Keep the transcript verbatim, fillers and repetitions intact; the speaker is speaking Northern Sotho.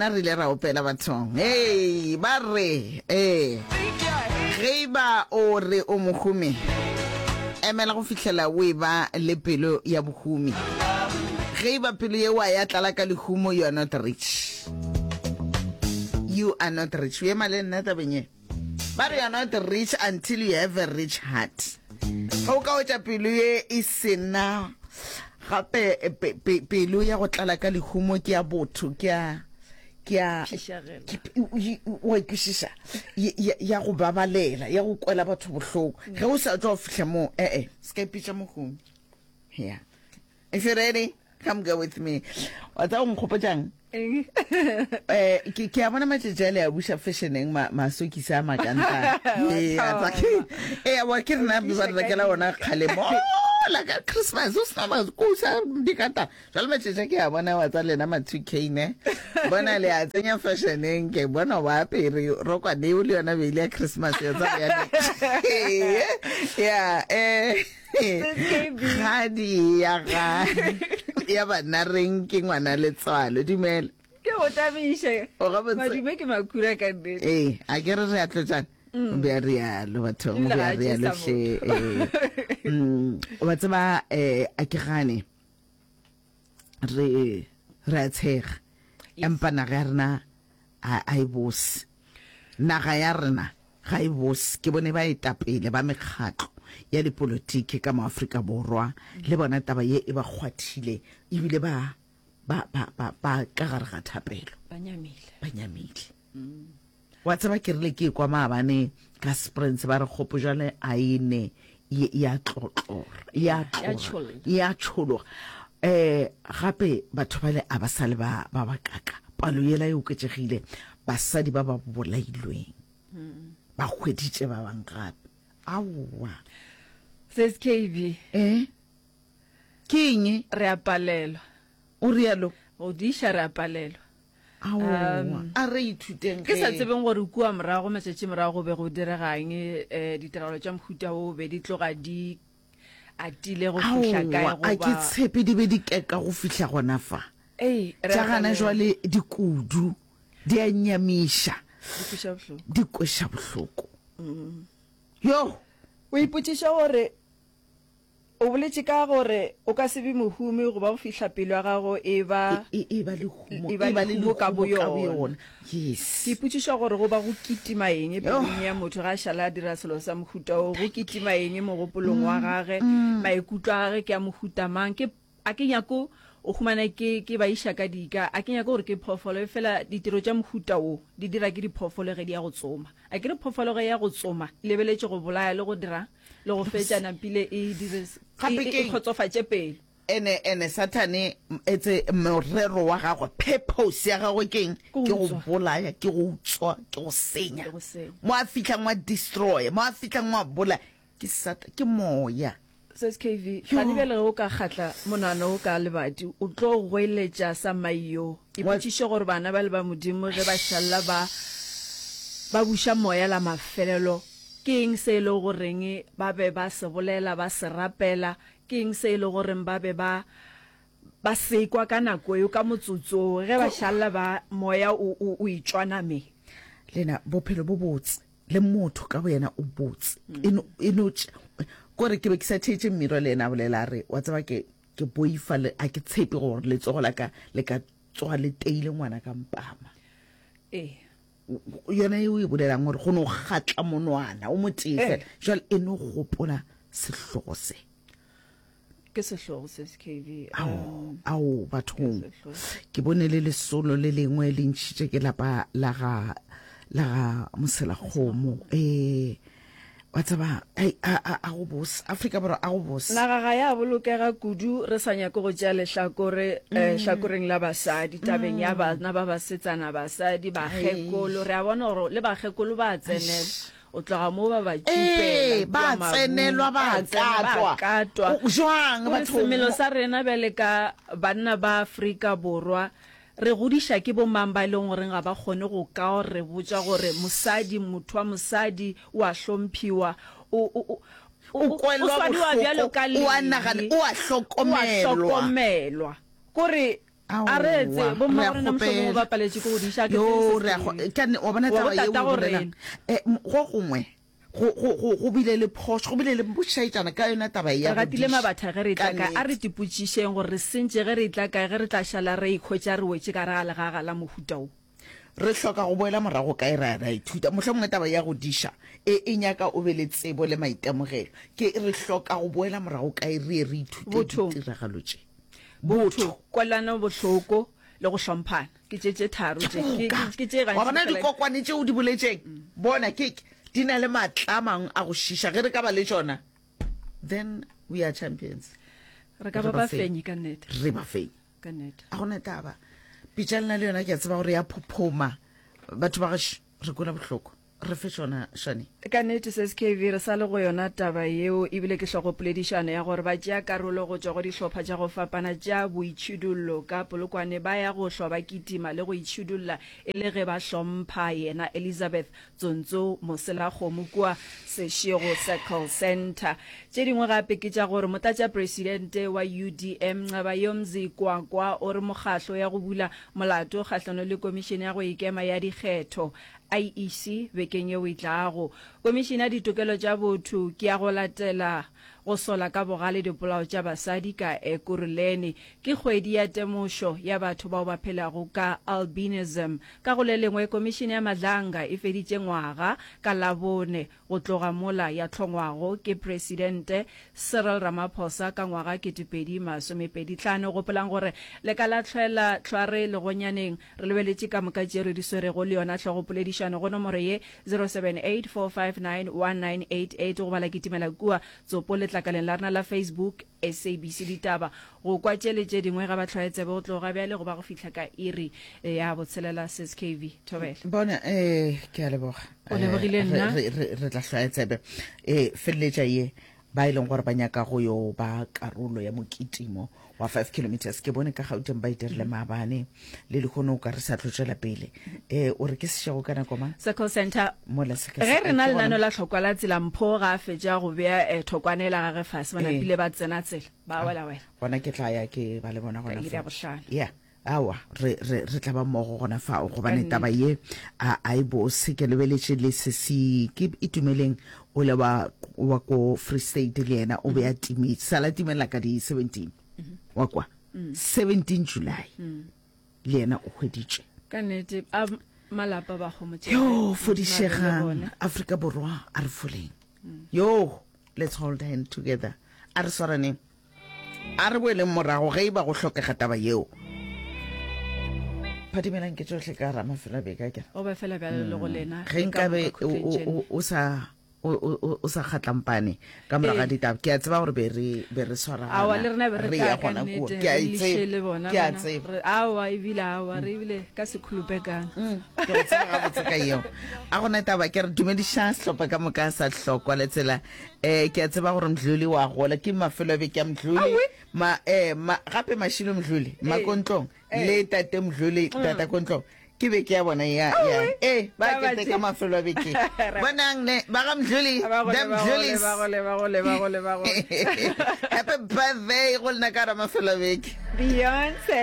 rena re ile ra opela bathong. Hei, ba re, ee, ge e ba o re o mohumi, emela go fihlela o eba le pelo ya bohumi. Ge e ba pelo yeo ya tlala ka lehumo, you are not rich. You are not rich. O ema le nna tabeng ye. Ba re you are not rich until you have a rich heart. Ge o ka hwetša pelo ye e sena gape pe, pe, pelo ya go tlala ka lehumo ke ya botho, ke ya ke ya Phišagela. ke- o- o- o a ikwešiša ya- ya ya go babalela, ya go kwela batho bohloko. Ge o sa tšwa go fihla moo, ee, se ka ipitša mohumi. Yeah. If you're ready, come go with me. Wa tseba o nkgopotšang? Eng? Eh, ke ke a bona matšatši a le a buša fashioneng ma masokisi a makantana. Ee, a tsa ke ee, wa ke rena O ba re tliša ka rekela ona dika. kgale mola ka Christmas o sena makosa dikata. Jwale matšatši a ke a bona wa tsa lena ma two K ne. Bona le a tsenya fashioneng ke bona wa apere rokwane eo le yona beile ya Christmas ya tsa bjale. Yeah, eh K B. Kgadi ya ga ya bana reng ke ngwana letswalo. Dumela. Ke go tabiše. O gabotse. Madume ke makhura ka nnete. Ee, a ke re re a tlotšana. O be a rialo bathong, o Ebile be ga a a rialo tšesa hle. motho. Ee. Mm, wa tseba eh a ke gane re re a tshega. Yes. Empa naga ya rena a a e bose. Naga ya rena ga e bose. Ke bone baetapele ba mekgatlo ya dipolotiki ka mo Afrika Borwa le bona taba ye e ba kgwathile ebile ba ba ba ba ba ka gare ga thapelo. Ba nyamile. Ba nyamile. Wa tseba ke rile ke kwa maabane ka Springs ba re kgopo jwale a e ne ye ya tlotlora ya Ya tloga tšholla. ya tšhologa. Eh gape batho bale a ba sa le ba ba ba kaka. Palo yela e oketšegile basadi ba ba bolailweng. Ba hweditše ba bang gape. Aowa. Sis K B. Eh? Ke eng? Re a palelwa. O rialo? Go diša re a palelwa. Aowa. Um, A re ithuteng Ke sa ge. tsebeng gore kua morago matšatši morago go be go diregang, eh, ditiragalo tša mohuta wo be di tloga di atile go fihla kae Aowa, a ke goba tshepe di be di keka go fihla gona fa. Ei, re Tša a gana palelwa. jwale di kudu, di a nyamiša, Di kweša bohloko. di kweša bohloko. Yo! O ipotšiša gore o boletše ka gore o ka se be mohumi goba go fihla pelo ya gago e ba E, e, e ba lehumo, e ba e ba le lehumo ka lehumo ka boyona. boyona. Yes. Ke ipotšiša gore go ba go kitima eng Yo. pelong ya motho ge a šala a dira selo sa mohuta wo, go kitima eng mogopolong wa gage, maikutlo a gage ke a mohuta mang. Ke, a ke nyako o humana ke, ke ba iša ka dika, a ke nyako gore ke phoofolo, efela ditiro tša mohuta wo di dira ke diphoofolo ge di ya go tsoma. A ke re phoofolo ge e ya go tsoma e lebeletše go bolaya le go dira le go fetša nampile e dire e, Gape e, e ke kgotsofatše pelo. Ene, ene Sathane etse morero wa gagwe, purpose ya gagwe ke eng? Ke go Ke go utswa. bolaya, ke go utswa, ke go senya. Ke go senya. Mo a fihlang wa destroy, mo a fihlang wa bolaya, ke Satan, ke moya. Sis K V, Yo. gane bjale ge o ka kgatla monwana o ka lebadi, o tlo goeletša sa maiyo. Wa- Ipotšiše gore bana ba le ba Modimo ge ba šalla ba, ba buša moya la mafelelo, ke eng se e le goreng ba be ba se bolela, ba se rapela, ke eng se e le goreng ba be ba, ba sekwa ka nako eo, ka motsotso ge ba šalla ba moya o, o, o itšwa nameng. Lena bophelo bo botse le motho ka boyena o botse. E no, e no tš-, kore ke be ke sa theetše Mmiro le yena a bolela a re, wa tseba ke, ke boifa le, a ke tshepe gore letsogo la ka le ka tsoga le teile ngwana ka mpama. Ee. Yona eo e bolelang gore go no kgatla monwana o motee Eh. fela. Jwale e no gopola sehlogo se. Ke sehlogo se, K V. Ao, Um, ao, bathong. Ke sehlogo. Ke bone le lesolo le lengwe le ntšhitše ke lapa la ga, la ga Moselakgomo. Eh, wa tseba, ai, a, a, a go bose. Afrika Borwa a go bose. Naga ga ya bolokega kudu, re sa nyake go tšea lehlakore, eh, hlakoreng la basadi, tabeng ya bana ba basetsana, basadi, bakgekolo. Re a bona gore le bakgekolo ba tsenelwa. O tloga mo ba ba Ee, tšupela ba kua mabung, tsenelwa, ba ba tsena, ba katwa. katwa. O, jwang, Gore batho? semelo sa rena bjale ka banna ba Afrika Borwa, re godiša ke bomang ba e leng goreng ga ba kgone go ka re botša gore mosadi, motho wa mosadi o a hlomphiwa, o, o, o, O o, o kwelwa swariwa bjalo bohloko, ka o a nagana, lehe, o a o a hlokomelwa. hlokomelwa. Kore A re etse, bo mma rena mohlomongwe ba paletše ke go diša, ke Yo, re a go, ka ne, wa bona taba ye o bolelang. Eh, go gongwe, go, go, go, go bile le phošo, go bile le bošaetšana ka yona taba ya Re gatile mabatha ge re etla kae? A re tipotšišeng gore re sentše ge re etla kae, ge re tla šala re ikhwetša re wetše ka gare ga legaga la mohuta wo. Re hloka go boela morago kae ra, ra ithuta? Mohlomongwe taba ya go diša e, e nyaka o be le tsebo le maitemogelo. Ke, re hloka go boela morago kae re ye re ithute ditiragalo tše? Botho, kwelano bohloko le go hlomphana. Ke tše tše tharo tše. Ke, ke, ke tše gantši. Wa bona dikokwane tše o di boletšeng? Bona, ke, di na le maatla a mangwe a go šiša. Ge re ka ba le tšona, then we are champions. Re ka ba bafenyi ka nnete. Re bafenyi. Ka nnete. A gona taba. Pitša lena le yona ke a tseba gore ya phophoma. Batho ba gešo, re kwela bohloko. Re fe tšona, Shani. Ka nnete, Sis K V, re sa le go yona taba yeo, ebile ke hlogopoledišano ya gore batšea karolo go tšwa go dihlopha tša go fapana tša boitšhidullo ka Polokwane ba ya go hlwa ba kitima le go itšhidulla e le ge ba hlompha yena Elizabeth Tsontso Moselakgomo kua Seshego Circle Centre. Tše dingwe gape ke tša gore Motlatšapresidente wa U D M Nqabayomzi Kwankwa o re mokgahlo ya go bula molato kgahlano le Komišene ya go Ikema ya Dikgetho I E C bekeng yeo e tlago. Komišene ya Ditokelo tša Botho ke ya go latela go sola ka bogale dipolao tša basadi ka Ekurhuleni. Ke kgwedi ya temošo ya batho bao ba phelago ka albinism. Ka go le lengwe, Komišene ya Madlanga e feditše ngwaga ka Labone go tloga mola ya hlongwago ke Presidente Cyril Ramaphosa ka ngwaga ketepedi masomepedi hlano. Gopolang gore le ka la hlwela hlware legonyaneng. Re lebeletše ka moka tše re di swerego le yona hlogopoledišano go nomoro ye zero seven eight four five nine one nine eight eight goba la kitimela kua tsopo letlakaleng la rena la Facebook S A B C Ditaba go kwa tše le tše dingwe ga ba hlwaye tsebe go tloga bjale go ba go fihla ka iri ya botshelela. Sis K V, thobela. Bona, eh, ke a leboga. O lebogile Eh, re, nna. re, re, re tla hlwaya tsebe. Eh, feleletša ye ba e leng gore ba nyaka go yo ba karolo ya mokitimo wa five kilometers. Ke bone ka Gauteng ba e dirile maabane le lehono o ka re sa tlo tšwela pele. Eh, o re ke sešego ka nako mang? Circle Center. Mola se ka Ge se re na ke gona. lenano la tlhokwa la tsela, Mpho ga a fetša go bea eh, thokwane ela gage fase, ba Ee. napile ba tsena tsela, ba wela wela. Gona ke tla ya ke ba le bona Ka gona iri ya fao. bohlano. Yeah. Aowa, re, re, re tla ba mmogo gona fao, Ka gobane taba nnete. ye a, a e bose. Ke lebeletše le sesi, ke Itumeleng ole wa, wa ko Free State le yena o be a timetše, sala timela ka di seventeen, wa kwa, seventeen July, le yena o hweditšwe. Ka nnete, a malapa ba homotšege. Yo, Modimo a be le fodišegang, bona. Afrika Borwa, a re foleng. Yo, let's hold hand together. A re swaraneng. A re boeleng morago ge e ba go hlokega taba yeo. Phadimelang ke tšohle ka gara mafelo a beke a kere. O ba fela bjalo le go lena. Ge Le ka nkabe moka khutleng o, tšena. o, o sa o, o, o sa kgatlampane ka morago ga Ee. ditaba, ke a tseba gore be re be re swaragana. Aowa, le rena be re re tla ya ka gona kua. nnete, Ke a re e liše tseba. le bona Ke a bana. tseba. Re, aowa, ebile aowa, re ebile ka sekhulupekana. Mm, ke go tseba gabotse ka yeo. A gona taba, ke re dumediša sehlopha ka moka sa Hlokwa le tsela. Eh, ke a tseba gore Mdluli wa gola, ke mafelo a beke a Mdluli. Aowi. Ma, eh, ma, gape Mashilo Mdluli, Ee. Makontlong, Ee. le Tate Mdluli, Tata Kontlong. Ke beke ya bona ya, ya. Aowi. Eh, ba Ba keteka batše. mafelo a beke. Bonang ne, ba ga Mdluli, Ba gole, the ba gole, Mdlulis. ba gole, ba gole, ba gole, ba gole. Happy birthday go lena ka gara mafelo a beke. Beyonce.